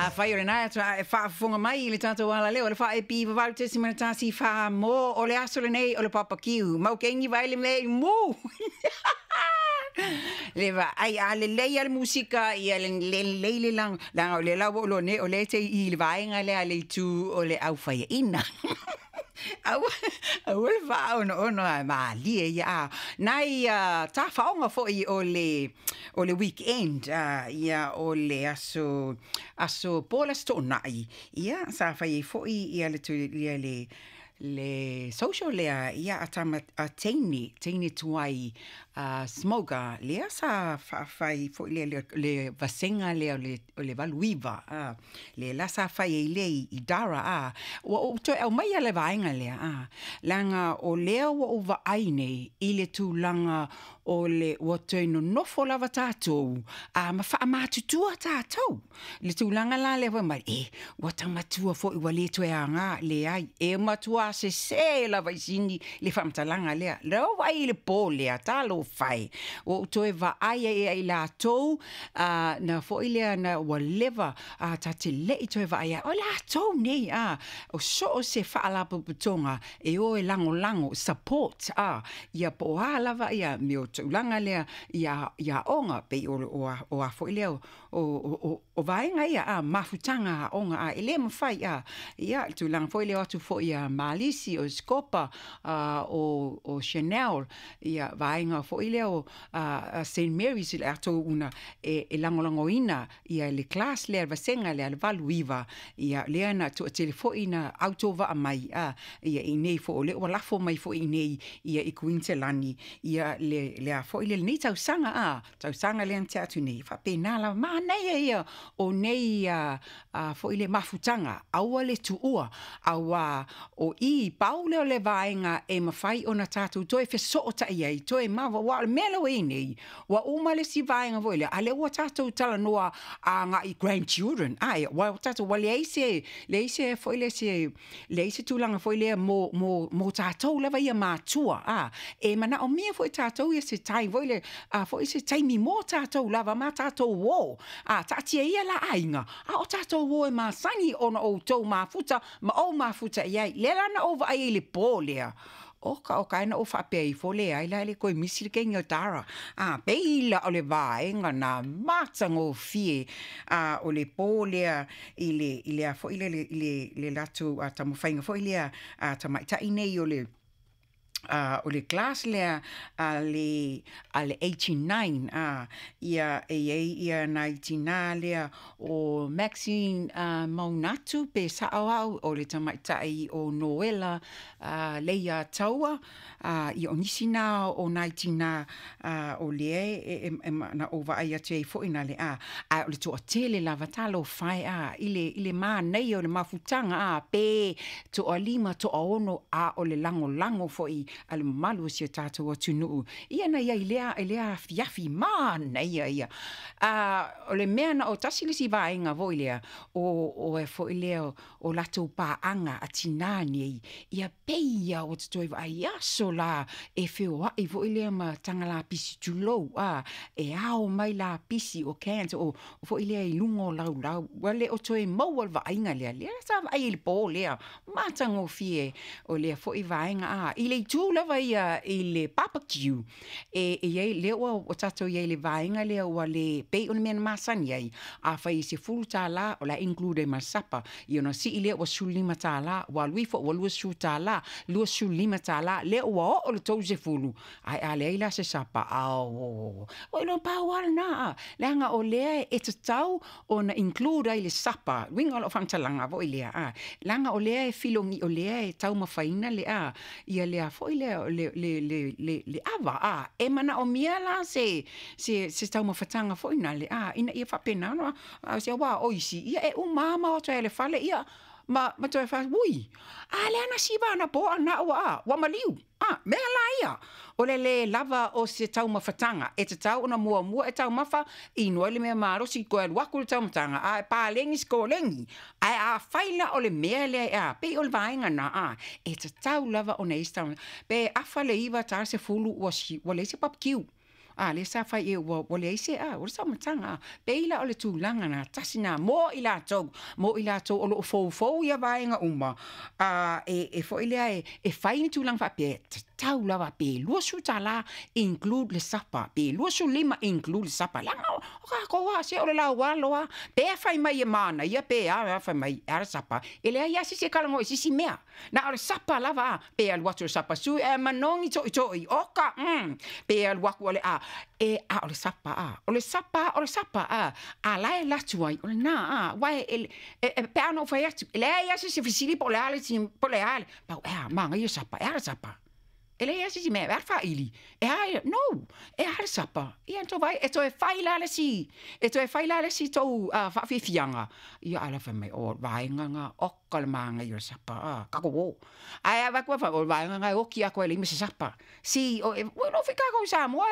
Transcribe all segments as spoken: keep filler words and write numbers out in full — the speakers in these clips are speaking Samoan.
Afai o lena e faafofoga mai i le tatou alaleo o le faaepi valu tesima tasi fa mo o le aso lenei o le papakiu mau keini vai le mea i mu. Le vaai a lelei a le musika ia le lelei le laga laga o le la ua ou iloa nei o lea e te i le vaega lea a le itu o le aufaiaina. Aua aua le faaono'ono ae malie ia a nai tafaoga foi o le o le weekend ia o le aso aso po le Aso Toonai ia sa fai ai foi ia le ia le le social lea ia a tama a teine teine tuai a smoker lea sa faafai foi lea le, le vasega lea o le, o le valu iva a le la sa fai ai lea i Dara a ua ou toe aumaia le vaega lea a leaga o lea ua ou vaai nei i le tulaga o le ua toe nonofo lava tatou a ma faamatutua tatou le tulaga la lea fai mai e ua taumatua foi ua le toe aga leai e matua sesē lava i sini le faamatalaga lea lea ua vaai i le po lea talofa e ua ou toe vaai ai ia i latou a na foi lea na ua leva a ta te le'i toe vaai ai o latou nei a o so o se faalapotopotoga e o e lagolago support a ia po o a lava ia mea o tulaga lea ia ia aoga pei o o a o a foi lea o o o vaega ia a mafutaga aoga a e lē mafai a ia le tulaga foi lea o atu foi ia Malisi o Scopa a o o Chanel ia vaega foi lea o Saint Mary's i latou una e e lagolagoina ia le class lea le vasega lea le valu iva ia lea na toatele foi na autovaa mai a ia i nei foi o lea ua lafo mai foi i nei ia i Kuiniselani ia le le a foi le lenei tausaga a tausaga lea na tea atu nei faapena lava manaia ia o nei a foi le mafutaga aua le tuua auā o i pau lea o le vaega e mafai ona tatou toe fesootai ai toe maua aua o le mea lea ua i ai nei ua uma le isi vaega foi lea a lea ua tatou talanoa agai grandchildren a ua tatou ua leai se leai se foi lea se leai se tulaga foi lea mo mo mo tatou lava ia matua a e manaomia foi tatou ia se time foi lea a foi se taimi mo tatou lava ma tatou uō a taatia ia la aiga a o tatou uō e masani ona outou mafuta ma ou mafuta i ai lea la na ou vaai ai i le po lea oka oka e na ou faapea ifo leai la e le toe misi le keini o Dara a pei la o le vaega na matagofie a o le po lea i le i le a foi le le le le latou taumafaiga foi lea a tamaitai nei o le a o le class lea a le a le eighty-nine a ia e i ai ia nai tinā lea o Maxine uh, Maunatu pe sa'o au o le tamaitai o Noela uh, Leia Taua uh, ia o nisi na o nai tinā uh, o lea e, e, e, na ou vaai atu ai foi na le a a o le toatele lava talofa e a i le i le manaia o le mafutaga a pe toalima toaono a o le lagolago foi a le mamalu o si o tatou atunuu ia na iai lea i lea afiafi manaia ia a o le mea na o tasi le isi vaega foi lea o o e foi lea o latou paaga a tinā nei ia pei ia ua toe vaai aso la e feoai foi lea ma taga lapisi tulou a e ao mai lapisi o cans o foi lea i luga o laulau ua le o toe maua le vaaiga lea lea sa vaai i le po lea matagofie o lea foi vaega a i le itu lava ia i le barbecue e e iai lea ua ua tatou iai le vaega lea ua le pei o le mea na masani ai a fai e sefulu tālā o le a include ai ma le sapa ia ona sii lea ua sefulu lima tālā ua alu ifo ua luasefulu tālā luasefulu lima tālā lea ua oo le tolusefulu ae a leai la se sapa ao ua iloa pau lava lena a leaga o lea e tatau ona include ai le sapa uiga o lau faamatalaga foi lea a leaga o lea e filogi o lea e taumafaina le a ia lea foi lea le le le le le ava a e manaomia la se se se taumafataga foi na le a ina ia faapena ona se aua o isi ia e uma lava ma o atu ai i le fale ia ma ma toe fai ui a lea na siva ana po ana ua a ua maliu a mea la ia o le lē lava o se taumafataga e tatau ona muamua e taumafa inu ai le mea malosi toe alu atu le taumafataga ae paleni sikoleni ae afai la o le mea lea e a pei o le vaega na a e tatau lava ona i ai se pe afa le iva ta sefulu ua si ua leai se barbecue. A le sa fai e ua ua leai se a o le saumataga a pei la o le tulaga na tasi na mo i latou mo i latou o loo foufou ia vaega uma a e e foi lea e e fai ni tulaga faapea tatau lava pe luasefulu tala include le sapa pe luasefulu lima include le sapa leaga o tatou a se o le laualo a pe fai mai e manaia pe a fai mai e a le sapa e leai a se isi e talanoa i se isi mea na o le sapa lava a pe alu atu le sapa sui ae manogi toʻitoʻi oka mm pe alu atu o le a e a o le sapa a o le sapa o le sapa a a la e latu ai o lena a uae e e pe a na ou fai atu e leai a se isi e fesili po o le a le po o le a le pau e a manaia sapa e a le sapa e leai a se isi mea e a le faili e a no e a le sapa ia tou vaai e toe fai la le isi e toe fai la le isi tou faafiafiaga ia ae fai mai o vaega na oka le manaia o le sapa a tatou o ae avatu o le vaega na e oti atu ai e leai ma se sapa si o e ua iloa foi tatou i Samoa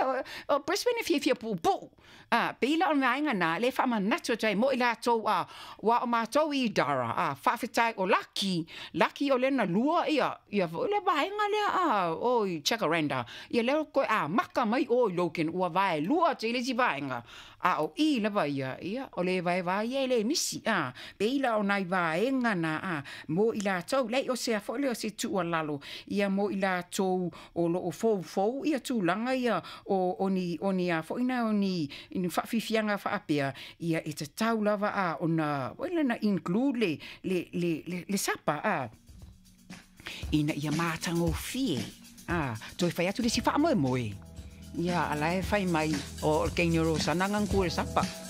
o Brisbane e fiafia puupuu a pei la o le vaega na lea e faamanatu atu ai mo i latou a ua o matou i Dara a faafetai o Laki Laki o lea na lua ia ia foi le vaega lea a o i Jacaranda ia lea toe amata mai o i Logan ua vaelua atu i le isi vaega a o i lava ia ia o le vaevae ia e le misi a pei la o nai vaega na a mo i latou leai o se a foi lea o se tuualalo ia mo i latou o loo foufou ia tulaga ia o o ni o ni a foi na o ni ni faafiafiaga faapea ia e tatau lava a ona na include le le le le, le sapa a ina ia matagofie a toe fai atu le isi faamoemoe ia ala e fai mai o le teine o Rosana gagakua i le sapa.